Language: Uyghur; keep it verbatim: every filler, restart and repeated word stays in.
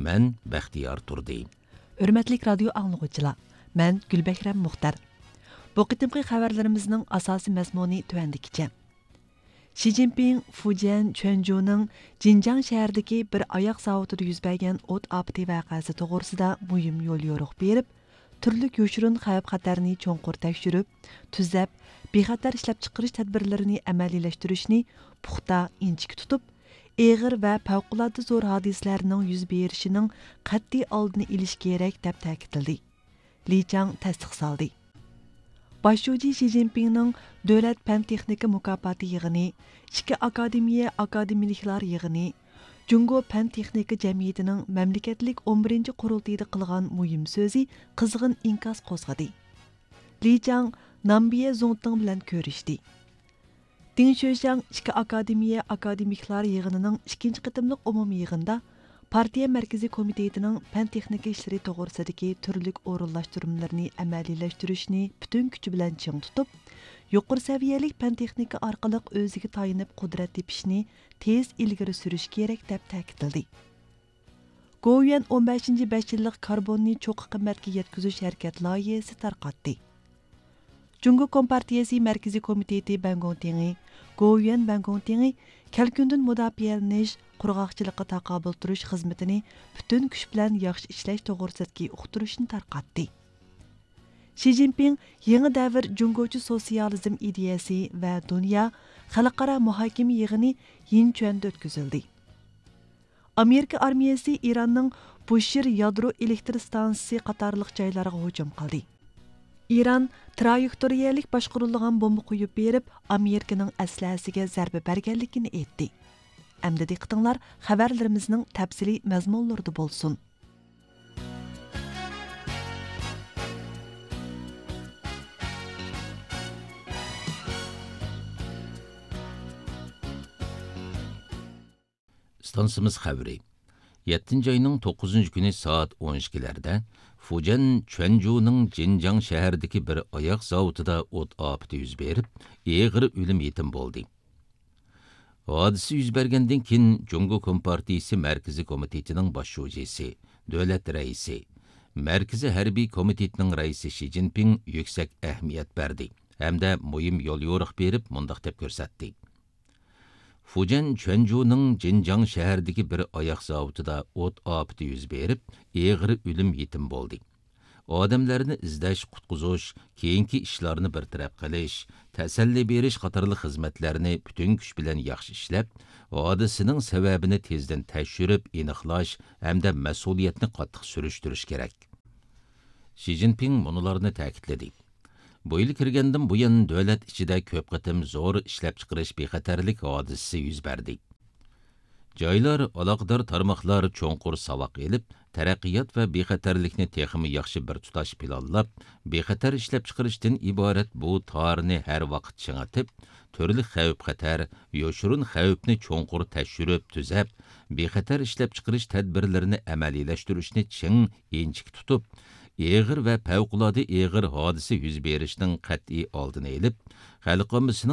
مەن بەختىيار تۇردى. ھۆرمەتلىك رادىيو ئاڭلىغۇچىلار، مەن گۈلبەھرەم مۇختەر. بۇ قېتىمقى خەۋەرلىرىمىزنىڭ ئاساسىي مەزمۇنى تۆۋەندىكىچە. شى جىنپىڭ فۇجيەن چۈەنجۇنىڭ جىنجاڭ شەھىرىدىكى بىر ئاياغ زاۋۇتىدا يۈز بەرگەن ئوت ئاپىتى ۋەقەسى توغرىسىدا مۇھىم يوليورۇق بېرىپ، تۈرلۈك يوشۇرۇن خەۋپ-خەتەرنى چوڭقۇر تەكشۈرۈپ، تۈزەپ، بىخەتەر ئىشلەپچىقىرىش تەدبىرلىرىنى ئەمەلىيلەشتۈرۈشنى پۇختا، ئىنچىكە تۇتۇپ، ئېغىر ۋە پەۋقۇلئاددە زور ھادىسىلەرنىڭ يۈز بېرىشىنىڭ قەتئىي ئالدىنى ئېلىش كېرەك، دەپ تەكىتلىدى. لى چاڭ تەستىق سالدى. باش شۇجى شى جىنپىڭنىڭ دۆلەت پەن-تېخنىكا مۇكاپاتى يىغىنى، ئىككى ئاكادېمىيە ئاكادېمىكلار يىغىنى، جۇڭگو پەن-تېخنىكا جەمئىيىتىنىڭ مەملىكەتلىك ئون بىرىنچى قۇرۇلتىيىدا قىلغان مۇھىم سۆزى قىزغىن ئىنكاس قوزغىدى. لى چاڭ نامبىيە زۇڭتىڭ بىلەن كۆرۈشتى. دىڭ شۆشياڭ ئىككى ئاكادېمىيە ئاكادېمىكلار يىغىنىنىڭ ئىككىنچى قېتىملىق ئومۇمىي يىغىنىدا پارتىيە مەركىزىي كومىتېتىنىڭ پەن-تېخنىكا ئىشلىرى توغرىسىدىكى تۈرلۈك ئورۇنلاشتۇرمىلىرىنى ئەمەلىيلەشتۈرۈشنى پۈتۈن كۈچى بىلەن چىڭ تۇتۇپ، يۇقىرى سەۋىيەلىك پەن-تېخنىكا ئارقىلىق ئۆزىگە تايىنىپ قۇدرەت تېپىشنى تېز ئىلگىرى سۈرۈش كېرەك، دەپ تەكىتلىدى. گوۋۇيۈەن ئون بەشىنچى بەش يىللىق كاربوننى چوققا قىممەتكە يەتكۈزۈش ھەرىكەت لايىھەسى تارقاتتى. جۇڭگو كومپارتىيەسى مەركىزىي كومىتېتى بەنگوڭتىڭى، گوۋۇيۈەن بەنگوڭتىڭى كەلكۈندىن مۇداپىئەلىنىش، قۇرغاقچىلىققا تاقابىل تۇرۇش خىزمىتىنى پۈتۈن كۈچ بىلەن ياخشى ئىشلەش توغرىسىدىكى ئۇقتۇرۇشنى تارقاتتى. شى جىنپىڭ يېڭى دەۋر جۇڭگوچە سوتسىيالىزم ئىدىيەسى ۋە دۇنيا خەلقئارا مۇھاكىمە يىغىنى يىنچۈەندە ئۆتكۈزۈلدى. ئامېرىكا ئارمىيەسى ئىراننىڭ بۇشىر يادرو ئېلېكتر ستانسىسى قاتارلىق جايلارغا ھۇجۇم قىلدى. ئىران ترايېكتورىيەلىك باشقۇرۇلىدىغان بومبا قويۇپ بېرىپ، ئامېرىكىنىڭ ئەسلىھەسىگە زەربە بەرگەنلىكىنى ئېيتتى. ئەمدى دىققىتىڭلار خەۋەرلىرىمىزنىڭ تەپسىلىي مەزمۇنلىرىدا بولسۇن. ئىستانسىمىز خەۋىرى. يەتتىنچى ئاينىڭ توققۇزىنچى كۈنى سائەت ئون ئىككىلەردە فۇجيەن چۈەنجۇنىڭ جىنجاڭ شەھىرىدىكى بىر ئاياغ زاۋۇتىدا ئوت ئاپىتى يۈز بېرىپ، ئېغىر ئۆلۈم يېتىم بولدى. ھادىسە يۈز بەرگەندىن كېيىن، جۇڭگو كومپارتىيىسى مەركىزىي كومىتېتىنىڭ باش شۇجىسى، دۆلەت رەئىسى، مەركىزىي ھەربىي كومىتېتىنىڭ رەئىسى شى جىنپىڭ يۈكسەك ئەھمىيەت بەردى ھەمدە مۇھىم يوليورۇق بېرىپ، مۇنداق دەپ كۆرسەتتى. فۇجيەن چۈەنجۇنىڭ جىنجاڭ شەھىرىدىكى بىر ئاياغ زاۋۇتىدا ئوت ئاپىتى يۈز بېرىپ، ئېغىر ئۆلۈم يېتىم بولدى. ئادەملەرنى ئىزدەش، قۇتقۇزۇش، كېيىنكى ئىشلارنى بىر تەرەپ قىلىش، تەسەللى بېرىش قاتارلىق خىزمەتلەرنى پۈتۈن كۈچ بىلەن ياخشى ئىشلەپ، ھادىسىنىڭ سەۋەبىنى تېزدىن تەكشۈرۈپ ئېنىقلاش ھەمدە مەسئۇلىيەتنى قاتتىق سۈرۈشتۈرۈش كېرەك. شى جىنپىڭ مۇنۇلارنى تەكىتلىدى. بۇ يىل كىرگەندىن بۇيان، دۆلەت ئىچىدە كۆپ قېتىم زور ئىشلەپچىقىرىش بىخەتەرلىك ھادىسىسى يۈز بەردى. جايلار، ئالاقىدار تارماقلار چوڭقۇر ساۋاق ئېلىپ، تەرەققىيات ۋە بىخەتەرلىكنى تېخىمۇ ياخشى بىر تۇتاش پىلانلاپ، بىخەتەر ئىشلەپچىقىرىشتىن ئىبارەت بۇ تارنى ھەر ۋاقىت چىڭىتىپ، تۈرلۈك خەۋپ-خەتەر، يوشۇرۇن خەۋپنى چوڭقۇر تەكشۈرۈپ تۈزەپ، بىخەتەر ئىشلەپچىقىرىش تەدبىرلىرىنى ئەمەلىيلەشتۈرۈشنى چىڭ، ئىنچىكە تۇتۇپ، ئېغىر ۋە پەۋقۇلئاددە ئېغىر ھادىسە يۈز بېرىشنىڭ قەتئىي ئالدىنى ئېلىپ، خەلق ئاممىسىنىڭ